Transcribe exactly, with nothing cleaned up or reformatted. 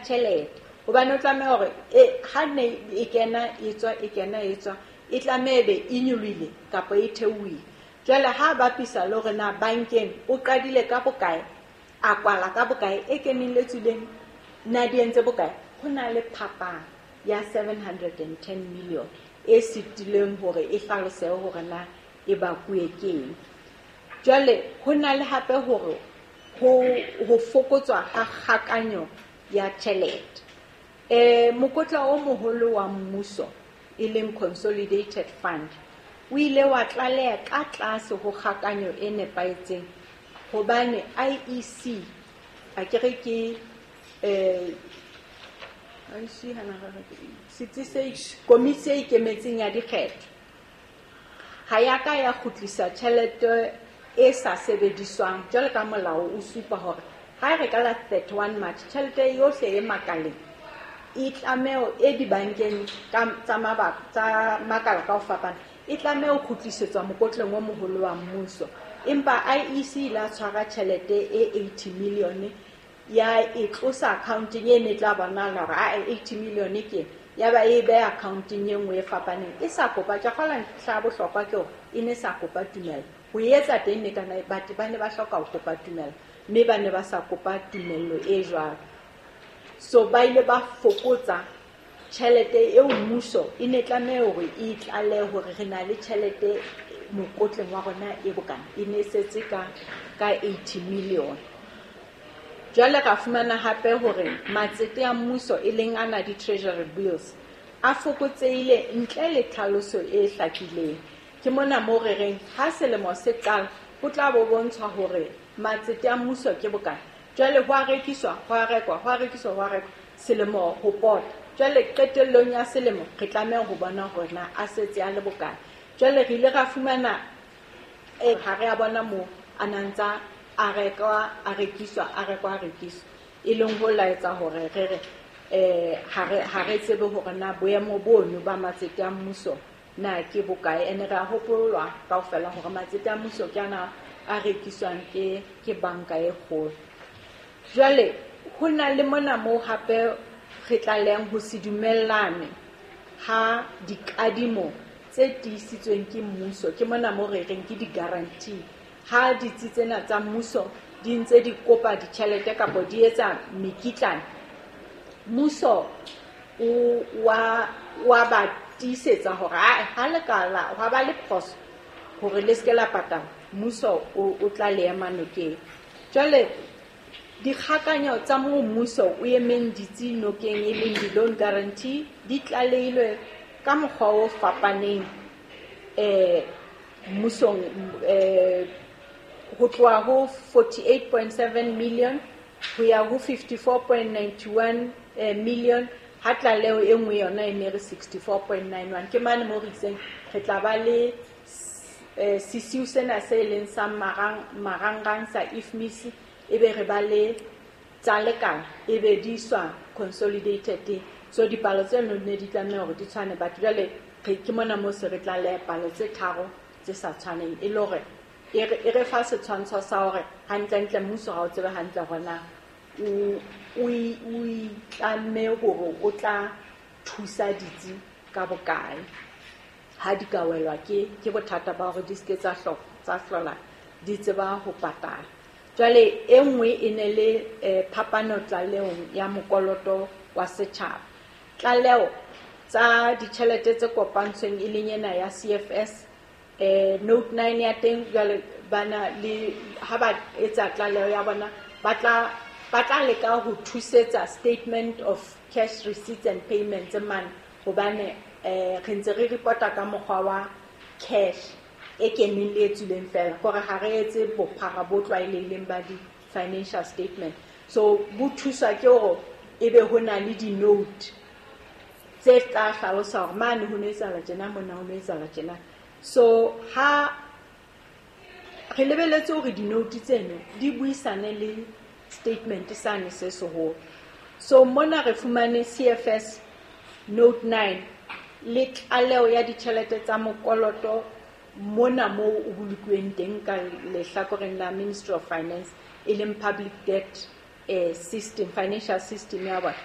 tjhelete. Hobane o tlameha hore e ha ne e kena e tswa e kena e tswa e tlameha ebe e nyolohile kapa e theohile. Jwale ha bapisa le hore na bankeng o qadile ka bokae, a kwala ka bokae, e keneng le tswileng na di entse bokae, ho na le phapang ya seven hundred and ten million e sitileng hore e hlalosehe hore na e bakuwe ke eng. Jwale ho na le hape hore ho, ho fokotswa ha kgakanyo ya tjhelete. Eh, mokotla o moholo wa mmuso e leng Consolidated Fund o ile wa tlaleha ka tlase ho kgakanyo e nepahetseng hobane I E C akere ke, eh, I E C hana re re ke setsi se komiti e ikemetseng ya dikgetho ha ya ka ya kgutlisa tjhelete e sa sebediswang jwalo ka molao o supa hore ha re ka la thirty-one March tjhelete yohle e makaleng e tlameho e dibankeng ka tsa mabaka tsa makala ka ho fapana e tlameha ho kgutlisetswa mokotleng o moholo wa mmuso. Empa I E C e la tshwara tjhelete e eighty million ya e tlosa accounteng e ne tla bonahala hore a eighty million ke ya ba e beha accounteng e nngwe e fapaneng e sa kopa. Ke kgolwa ntlha ya bohlokwa ke hore e ne sa kopa tumello ho e etsa teng, ne kana batho ba ne ba hloka ho kopa tumello mme ba ne ba sa kopa tumello e jwalo. So ba ile ba fokotsa tjhelete eo mmuso e ne tlameha hore e tlalehe hore re na le tjhelete mokotleng wa rona e bokana, e ne setse ka, ka eighty million. Jwale ra fumana hape hore matsete a mmuso e leng ana di-treasury bills a fokotsehile ntle le tlhaloso e hlakileng. Ke mona moo re reng ha selemo se qala ho tla bo bontshwa hore matsete a mmuso ke bokana. Jwale ho a rekiswa, ho a rekwa, ho a rekiswa, ho a rekwa selemo ho pota. Jwale qetellong ya selemo re tlameha ho bona hore na a setse a le bokana. Jwale re ile ra fumana, eh, ha re a bona moo a na ntsa a rekwa, a rekiswa, a rekwa, a rekiswa. E leng ho laetsa hore re re, eh, ha re, ha re tsebe hore na boemo bono ba matsete a mmuso na ke bokae. Ene re a hopolwa kaofela hore matsete a mmuso ke ana a rekiswang ke, ke banka e kgolo. Jwale ho na le mona moo hape re tlalehang ho se dumellane ha dikadimo tse tiisitsweng ke mmuso, ke mona moo re reng ke di-guarantee. Ha ditsi tsena tsa mmuso di ntse di kopa ditjhelete kapa di etsa mekitlane, mmuso o wa, wa ba tiisetsa hore ha, ha le ka la, hwa ba le phoso hore le se ke la patala, mmuso o, o tla le ema nokeng. Jwale dikgakanyo tsa moo mmuso o emeng ditsi nokeng e leng di-loan guarantee di tlalehilwe ka mokgwa o fapaneng, eh, mmusong, eh, ho tloha ho forty-eight point seven million ho ya ho fifty-four point ninety-one, eh, million, ha tlaleho e nngwe yona e ne re sixty-four point nine one. Ke mane moo re itseng re tla ba le, eh, sesiu sena se leng sa marang, marangrang sa I F M I S, ebe re ba le tsa lekala, ebe di iswa consolidated. So dipalo tseno ne di tlameha hore di tshwane, but jwale re ke mona moo se re tlaleha palo tse tharo tse sa tshwaneng, e le hore e re, e re fa setshwantsho sa hore hantlentle mmuso ha o tsebe hantle hore na o, o i-, o itlamme hore o tla thusa ditsi ka bokae ha di ka welwa ke, ke bothata ba hore di se ke tsa hlo-, tsa hlola di tseba ho patala. Jwale e nngwe e ne le, eh, phapano tlalehong ya mokoloto wa setjhaba. Tlaleho tsa ditjhelete tse kopantsweng e leng ena ya C F S, eh, note nine ya teng, jwale bana le ha ba etsa tlaleho ya bona ba tla, ba tla leka ho thusetsa statement of cash receipts and payments mane, hobane, eh, re ntse re reporta ka mokgwa wa cash e keneng le e tswileng fela, hore ha re etse bophara bo tlwaelehileng ba di-financial statement. So bo thuswa ke hore ebe ho na le di-note tse tla hlalosa hore mane ho no etsahala tjena, mona ho no etsahala tjena. So ha re lebelletse hore di-note tseno di buisane le statement sane se seholo. So mona re fumane C F S note nine le tlaleho ya ditjhelete tsa mokoloto mona moo o bolokuweng teng ka lehlakoreng la Ministry of Finance, e leng public debt, eh, system, financial system ya bona.